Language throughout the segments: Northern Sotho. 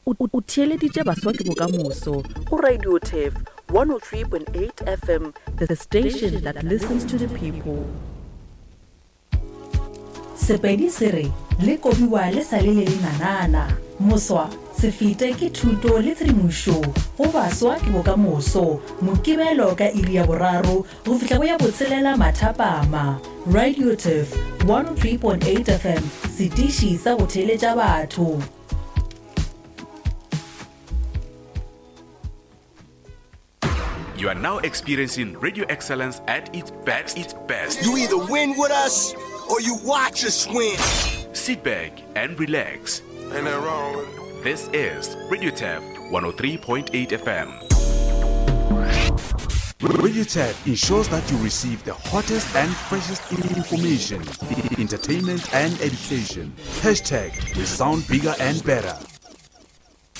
O theeleditše Baswa ke Bokamoso go Radio Turf 103.8 FM, the station that listens to the people. Sepedi se re, Le kobiwa le sa le le lenanana. Moswa, se fete ke thuto le tshedimošo go baswa ke bokamoso. Mokibelo ka iri ya boraro go fihla go ya botshelela mathapama. Radio Turf 103.8 FM, setiši sa go theeletša batho. You are now experiencing radio excellence at its best. Its best. You either win with us or you watch us win. Sit back and relax. Ain't nothing wrong with it. This is Radio Tap 103.8 FM. Radio Tap ensures that you receive the hottest and freshest information, entertainment, and education. Hashtag we sound bigger and better.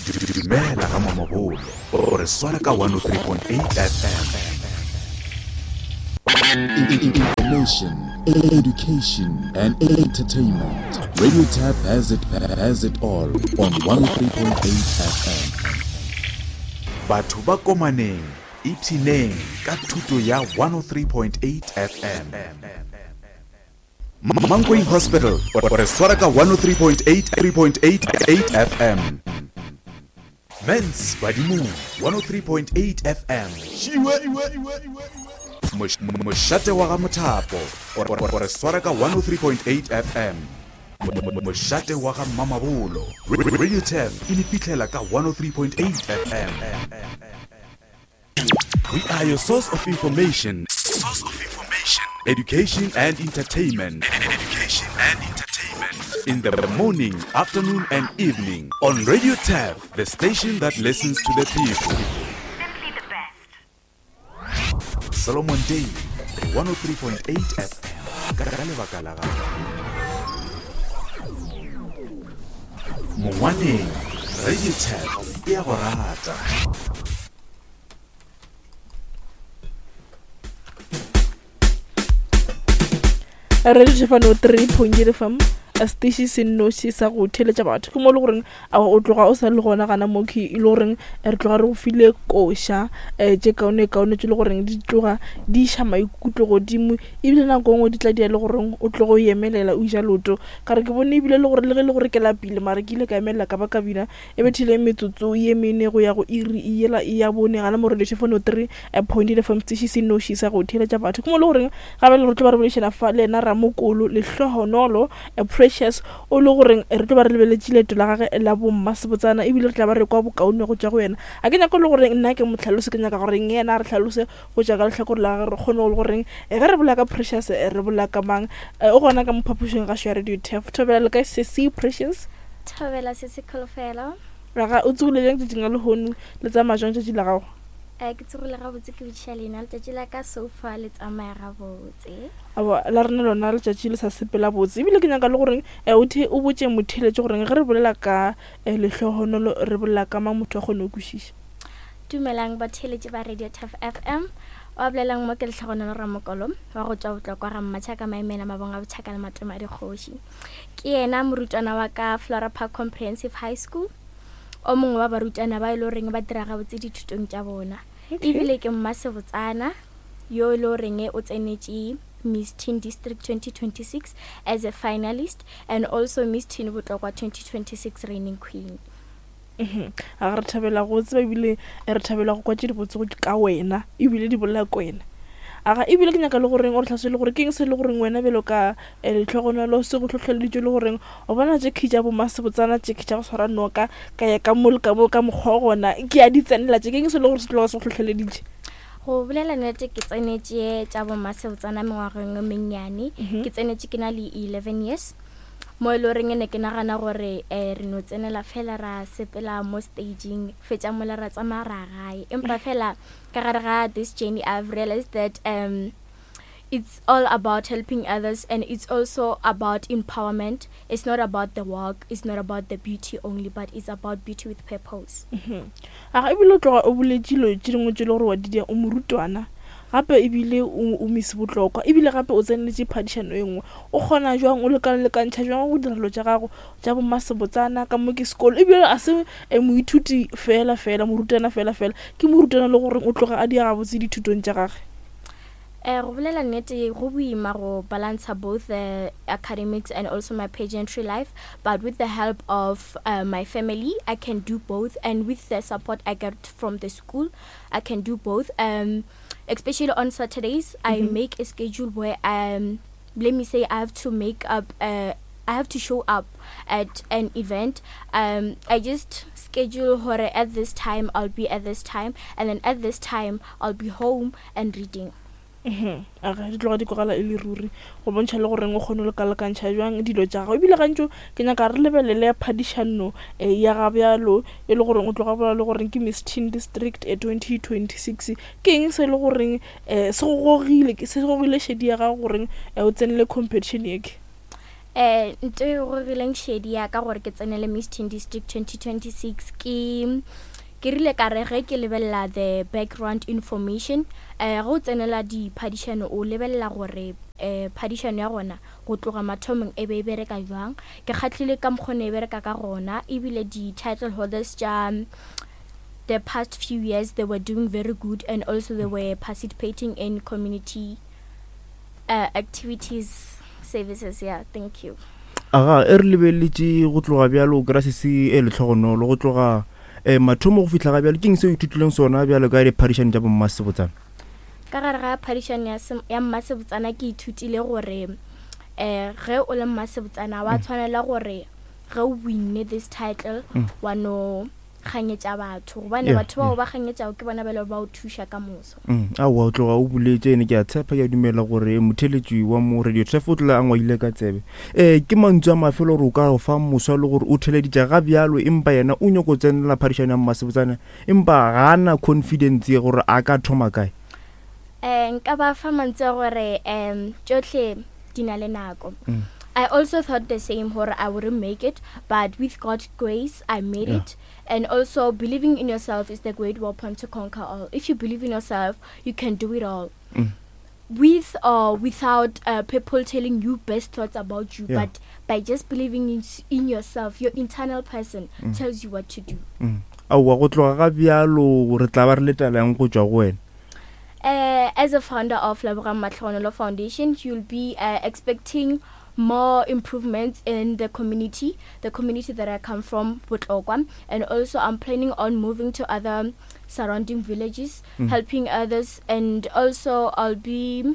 Dumela ga mamabolo o re swara ka 103.8 FM. Information, education, and entertainment. Radio Tap has it, has it all on 103.8 FM. Batho ba komaneng, ipshineng ka thuto ya 103.8 FM. Mankweng Hospital o re swara ka 103.8 3.8 8 FM. Mens Badimong 103.8 FM. Mošate wa ga Mothapo o re swara ka 103.8 FM. Mošate wa ga Mamabolo. Radio 10 e le fihlela ka 103.8 FM. We are your source of information. Source of information. Education and entertainment. Education and entertainment. In the morning, afternoon, and evening on Radio Tab, the station that listens to the people. Simply the best. Solomon Day, 103.8 FM. Ka lebaka la gago. Mongwaneng, Radio Tab e a go rata. Radio Tšhefano 3.0 FM setiši se nnoši sa go theeletša batho ke mo e le goreng o tloga o sa le gona gana mo ke e le goreng re tloga re go file koša um tše kaone kaone tše le goreng di tloga di iša maikutlo godimo ebile nako nngwe di tla dia le goreng o tlogo o emelela o iša leoto ka re ke bone ebile le gore le ge e le gore ke lapile mare ke ile ka emelela ka ba ka bina E bethile metsotso ye mene go ya go iri yela ya bone gana mo Radio Šefano 3.8 FM setiši se noši sa go theeletša batho. Ke mo le goreng ga bjale re tlo ba re boledišana fa le yena Ramokolo Lehlohonolo eh, Precious o le goreng re tlo ba re lebeletše leeto la gage la bomma sebotsana ebile re tla ba re kwa bokaone go tšwa go yena. A ke nyako le goreng nna ke mo tlhalose ke nyaka goreng yena a re tlhalose go tšwa ka lehlakore la gage re kgone go le goreng eh, ge re bolela ka Precious eh, re bolela ka mang. O gona ka mo phapošing ga šo ya Radio Turf. Thobela le kae sesi Precious? Thobela se se kholofelo. Raga, o tsogile bjang tšatšing la lehono? Le tsamaya jwang tšatši la gago? Eh, ke tsogile gabotse ke botšiša lena letšatši la ka so far le tsamaya gabotse. Aowa, la rena lona letšatši le sa sepela botse. Ebile ke nyaka le goreng eh, o the o botše motheeletši goreng ge re bolela ka eh, lehlohonolo re bolela ka mang motho a kgone go kwešiša. Dumelang batheeletši ba Radio Turf FM. Wa bolelang mo ke Lehlogonolo Ramokolo wa go tšwa Botlokwa ga Mmatšhaka Maimela Mabong a Botšhaka le Matome a Dikgoši. Ke yena morutwana wa ka Flora Park Comprehensive High School, o mongwe wa barutwana ba e le goreng ba dira gabotse dithutong tša bona. Ebile ke mmasebotsana yo e le goreng o tsenetše Miss Teen District 2026 as a finalist and also Miss Teen Botlokwa 2026 reigning queen. Mhm. A re thabela go tseba ebile re thabela go kwa tše dibotse go ka wena ebile di bolela ko wena. Aga ebile ke nyaka le goreng o re tlhaswe le gore ke eng se le goreng wena bjalo ka eh, letlhogonolo se go hlohleleditše le goreng o bona tše khi tša bomasebotsana tše khi tša go tshwara noka ka ya ka mo le ka mo ka mokgwa wa gona ke a di tsenela tše ke eng se le gore se tloga se go hlohleleditše Go bolela nnete ke tsenetše tša bomasebotsana mengwageng e mennyane. Ke tsenetše ke na le 11 years. Mo e le goreng ne ke nagana gore um re no tsenela fela ra sepela mo staging fetša mola ra tsamaya ra gae empa fela ka gare ga this journey I've realized that um it's all about helping others and it's also about empowerment it's not about the work it's not about the beauty only but it's about beauty with purpose mm -hmm. A ga ebile o tloga o boletše dilo tše dingwe tše e le gore wa di dia o morutwana. gape ebile o o Miss Botlokwa ebile gape o tseneletše phadišano e nngwe. O kgona jwang, o lekalekantšha jwang go dira dilo tša gago tša bommasebotsana ka mo ke sekolo ebile a se eh, moithuti fela fela, morutana fela fela, ke morutana le gore o tloga a dia gabotse dithutong tša gage. Go bolela nnete go boima go balancer both the academics and also my pageantry life, but with the help of my family I can do both, and with the support I get from the school I can do both. Especially on Saturdays, I make a schedule where let me say I have to make up I have to show up at an event. I just schedule hore at this time I'll be at this time, and then at this time I'll be home and reading. Aga di tloga di kwagala e le ruri go bontšha le goreng o kgone go lekalekantšha jwang dilo tša gago. Ebile gantši ke nyaka re lebelele phadišano ya ga bjalo e le goreng o tloga bolela le goreng ke Miss Teen District 2026. Ke eng se e le goreng se go gogile, se gogile šedi ya gago goreng o tsenele competition ye ke? Nto e gogileng šedi ya ka gore ke tsenele Miss Teen District 2026 ke ke rile ka re ge ke lebelela the background information, ge o tsenela diphadišano o lebelela gore phadišano ya gona go tloga mathomong e be e bereka jwang. Ke kgahlile ka mokgwa ne e bereka ka gona, ebile di-title holders tša the past few years they were doing very good, and also they were participating in community activities services. Yeah, thank you. Aga e re lebeletše go tloga bjalo o kry-a se se e letlhogonolo go tloga mathomo go fihla ga bjalo, ke eng se o ithutileng sona bjalo ka diphadišano tša bommasebotsana? Ka gare ga phadišano ya mmasebotsana ke ithutile gore ge o le mmasebotsana wa tshwanela gore ge o winne this title wa no kganyetša batho, gobane batho bao ba kganyetšago ke bona ba le ba o thuša ka moso. Aowa, o tloga o buletše ene, ke a tshepa, ke a dumela gore motheletši wa mo Radio Tref o tlola a ngwaile ka tsebe. Ke mantšu a mafelo gore o ka fa moswa le gore o theleditša ga bjalo, empa yena o nyoko tsenela phadišano ya mmasebotsana, empa ga a na confidence gore a ka thoma kae? Nka ba fa mantšu a gore tšohle di na le nako. I also thought the same gore I wouldn't make it, but with God's grace I made it. And also believing in yourself is the great weapon to conquer all. If you believe in yourself, you can do it all. With or without people telling you best thoughts about you, but by just believing in yourself, your internal person tells you what to do. Aowa, go tloga ga bjalo re tla ba re letela eng go tšwa go wena? As a founder of Lebogang Matlhogonolo Foundation, you'll be expecting more improvements in the community, the community that I come from, Botlokwa, and also I'm planning on moving to other surrounding villages, helping others, and also I'll be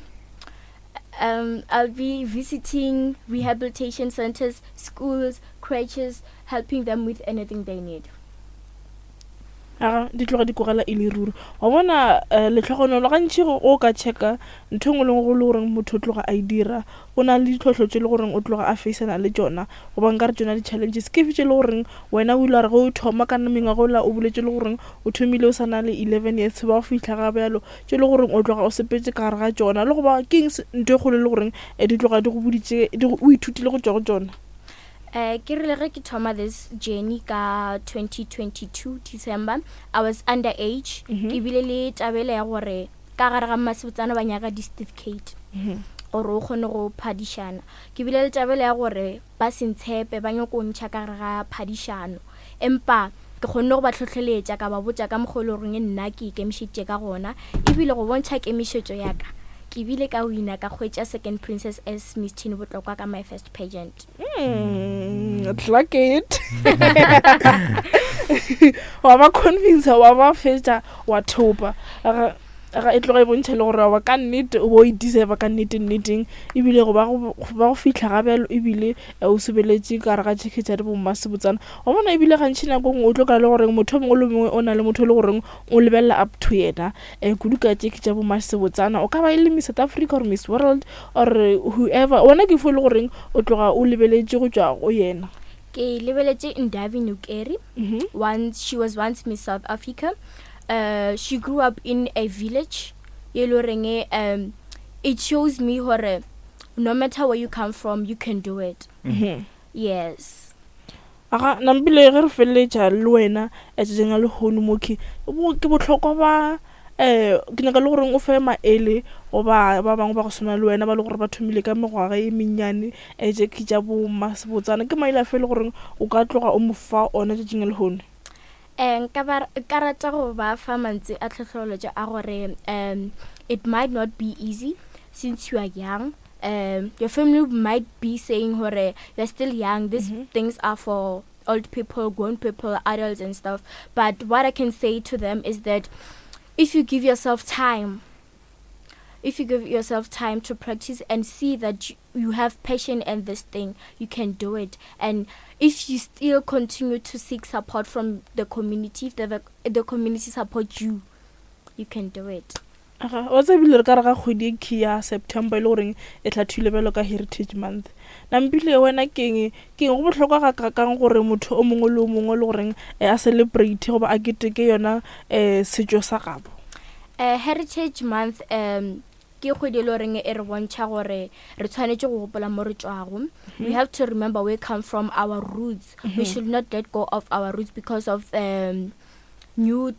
visiting rehabilitation centers, schools, creches, helping them with anything they need. Aga di tloga di kogela e le ruri. Wa bona letlhogonolo gantši go ka checka ntho e nngwe le nngwe le goreng motho o tloga a e dira, go na le ditlhohlo tše le goreng o tloga a faceana le tšona, goba nka re tšona di-challenges ke efe tše le goreng wena o ile wa re ge o thoma ka mengwaga ola o boletše le goreng o thomile o sa na le 11 years ba go fihla ga bjalo, tše le goreng o tloga o sepetse ka gare ga tšona, le goba ke eng ntho e kgolo le goreng di tloga di go boditše, o ithutile go tšwa go tšona? Ke rile ge ke thoma this journey ka 2022 December, I was under age. Ke bile le tabele ya gore ka gare ga mmasebotsana ba nyaka di-certificate gore o kgone go phadišana. Ke bile le tabele ya gore ba se ntshepe, ba nyako ntšha ka gare ga phadišano, empa ke kgonne go ba hlohleletša, ka ba botša ka mokgwa o le goreng nna ke ikemišeditše ka gona, ebile go bontšha kemišetšo ya ka ke bile ka wina, ka hwetša second princess as Miss Teen Botlokwa ka my first pageant. Clock it. Wa ba convince, wa ba fetša, wa thopa. Ga e tloga e bontšha le gore wa ka nnete o bo o e deserve ka nnete nneteng, ebile go ba go fihla ga bjalo ebile o sebeletše ka gare ga tšheke tša bommasebotsana. Wa bona ebile gantši nako nngwe o tlo kry-a le gore motho o mongwe le mongwe o na le motho e le goreng o lebelela up to yena, kudu ka tše tša bommasebotsana. O ka ba e le Miss South Africa or Miss World or whoever, wena ke fo e le goreng o tloga o lebeletše go tšwa go yena. Ke lebeletše Ndavi Nokeri. Once she was once Miss South Africa. She grew up in a village ye le goreng, it shows me gore no matter where you come from, you can do it. Yes. Aga nampile ge re feleletša le wena tšatšing la lehono mo ke ke bohlokwa ba Um ke nyaka le goreng o fe maele goba ba bangwe ba go swana le wena ba le gore ba thomile ka mengwaga e mennyane um tše ke tša bo masebotsana. Ke maele a fe le goreng o ka tloga o mo fa ona tšatšing la lehono? Um nka ba ka rata go ba fa mantswe a tlhohleletšo a gore um it might not be easy since you are young. Your family might be saying gore you're still young, these things are for old people, grown people, adults and stuff. But what I can say to them is that if you give yourself time, if you give yourself time to practice and see that you have passion in this thing, you can do it. And if you still continue to seek support from the community, if the community support you, you can do it. Aga, wa tseba ebile re ka re ga kgwedi e key ya September e le goreng e hlathilwe bjalo ka Heritage Month. Nampile wena keng, keng go bohlokwa gakaakang gore motho o mongwe le o mongwe le goreng eh, a celebrate goba a keteke yona eh, setšo sa gabo? Heritage Month um ke kgwedi e le goreng e re bontšha gore re tshwanetše go gopola mo re tšwago. We have to remember where come from, our roots. We should not let go of our roots because of new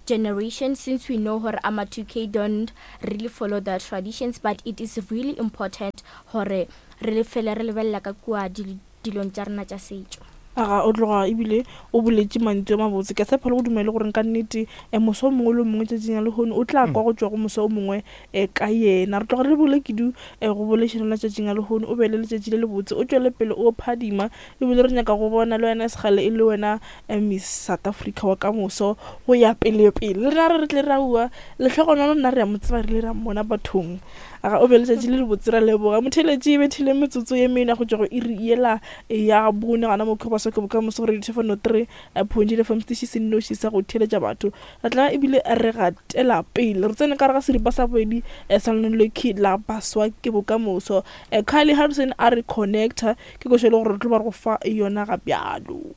generation, since we know gore ama 2K don't really follow the traditions, but it is really important gore re fele re lebelela ka kua dilong tša rena tša setšo. Aga, o tloga ebile o boletše mantšu a mabotse. Ke a tshepa le go dumela gore ka nnete um moso o mongwe le o mongwe tšatšing la lehono o tla kwa go tšwa go moso o mongwe um ka yena. Re tloga re lebogile kudu um go boledišana le tšatšing la lehono. O be le letšatši le lebotse, o tšwele pele o phadima, ebile re nyaka go bona le wena segale e le wena Miss South Africa wa ka moso go ya pele-pele. Le rena re re tle ra bua lehlogonolo, nna re a mo tseba, re ile ra mmona bathong. Aga, o be letšatši le lebotse, ra leboga. Motheeletši e bethile metsotso ye mene go tšwa go iri yela ya bone gana mo Kgobaso ke bokamoso go Radio Thefano 3 point FM, setiši se nnoši sa go theeletša batho. Re tla ebile re gatela pele, re tsene ka gare ga seripa sa bobedi sa lenaneo la Baswa ke Bokamoso. Kylie Harrison a re connecta, ke košo e le gore re tlo ba re go fa yona ga bjalo.